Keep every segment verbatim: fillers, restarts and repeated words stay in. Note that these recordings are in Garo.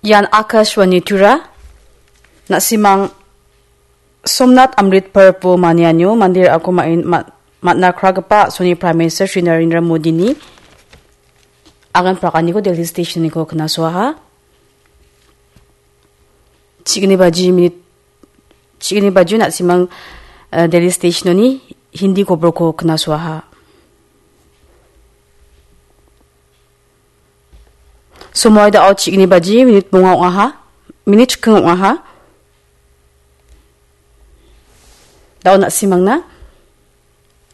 Ian Akashvani Tura, na·simang Somnath Amrit Parbo manianio mande ra·ako ma-, ma-, man·a kragipa a·soni Prime Minister Shri Narendra Modini agan prakaniko Delhi Stationiko knasoaha. Chigni baji minit, chigni baji na·simang, eh, Delhi Stationoni Hindi koborko knasoaha. Somoi da·o chigni baji minit bonga ong·aha, minit chikking ong·aha. Da·o na·simangna,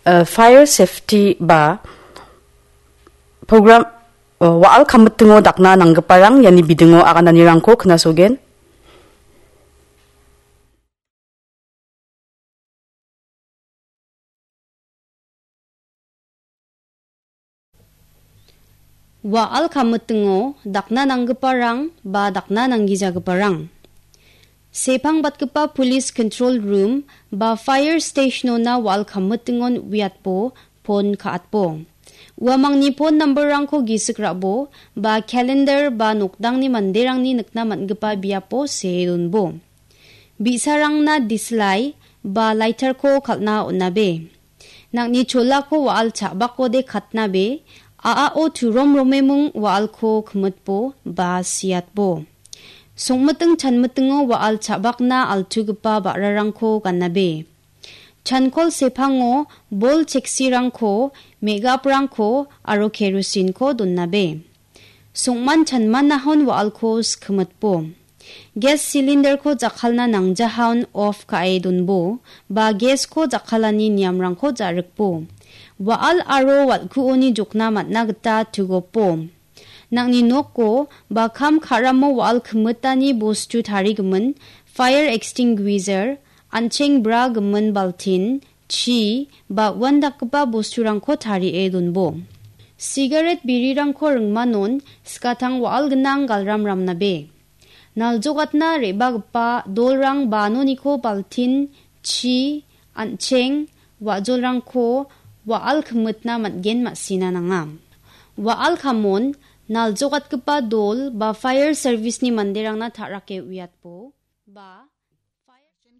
eh, fire safety ba program, eh, wa·al kamitingo dakna nanggiparang iani bidingo agananirangko knasogen. Wa·al kamitingo dakna nanggiparang ba dakna nanggijagiparang. Sepangbatgipa police control room ba fire stationona wa·al kamitingon uiatbo pon ka·atbo. Uamangni pon namberrangko gisik ra·bo ba calendar ba nokdangni manderangni nikna man·gipa biapo see donbo. Bi·sarangna dislai ba lighterko kal·na on·abe. Nang·ni cholako wa·al cha·bakode katnabe, a·ao turom romemung wa·alko kimitbo ba siatbo. Songmiting chanmitingo wa·al cha·bakna altugipa ba·rarangko ganabe. Chankol sepango bol cheksirangko, me·gaprangko aro kerosinko donabe. Songman chanmanahon wa·alko skimitbo. Gas cylinderko jakkalna nangjahaon off ka·e donbo, ba gasko jakkalani niamrangko ja·rikbo. Wa·al aro wal·kuoni jokna man·a gita tugopo. Nang·ni noko ba kam ka·ramo wa·al kimitani bostu tarigimin fire extinguisher, an·cheng bra gimin baltin, chi ba uandakgipa bosturangko tarie donbo. Sigaret birirangko ringmanon skatang wa·al gnang galram ramnabe. Naljogatna re·bagipa dolrang banoniko baltin, chi, an·cheng, wa·jolrangko wa·al kimitna man·gen ma·sina nanga. Wa·al kamon naljogatgipa dol ba fire service-ni manderangna ta·rake uiatbo ba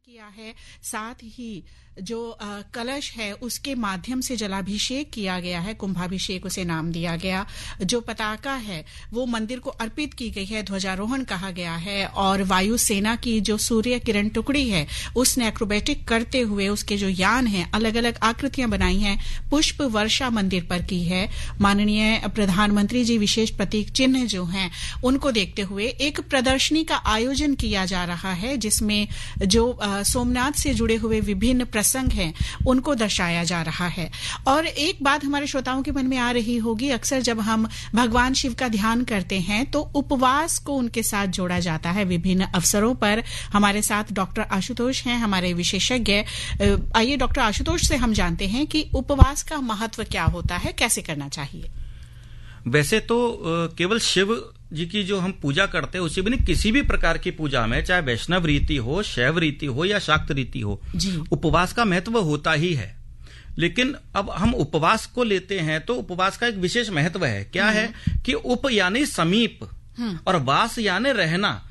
किया है। साथ ही जो, अ, कलश है, उसके माध्यम से जलाभिषेक किया गया है, कुंभाभिषेक उसे नाम दिया गया। जो पताका है, वो मंदिर को अर्पित की गई है, ध्वजारोहण कहा गया है। और वायुसेना की जो सूर्य किरण टुकड़ी है, उसने एक्रोबेटिक करते हुए उसके जो यान हैं, अलग-अलग आकृतियां बनाई हैं, पुष्प वर्षा मंदिर पर की है। माननीय प्रधानमंत्री जी विशेष प्रतीक चिन्ह जो हैं, उनको देखते हुए एक प्रदर्शनी का आयोजन किया जा रहा है, जिसमें जो, अ, सोमनाथ से जुड़े हुए विभिन्न प्रसंग हैं, उनको दर्शाया जा रहा है। और एक बात हमारे श्रोताओं के मन में आ रही होगी, अक्सर जब हम भगवान शिव का ध्यान करते हैं, तो उपवास को उनके साथ जोड़ा जाता है विभिन्न अवसरों पर। हमारे साथ डॉक्टर आशुतोष हैं, हमारे विशेषज्ञ। अ, आइए, डॉक्टर आशुतोष से हम जानते हैं कि उपवास का महत्व क्या होता है, कैसे करना चाहिए? वैसे तो, अ, केवल शिव जी की जो हम पूजा करते हैं, उसी भी नहीं, किसी भी प्रकार की पूजा में, चाहे वैष्णव रीति हो, शैव रीति हो या शाक्त रीति हो, जी। उपवास का महत्व होता ही है। लेकिन अब हम उपवास को लेते हैं, तो उपवास का एक विशेष महत्व है। क्या है हम्म। कि उप यानी समीप हम्म। और वास यानी रहना।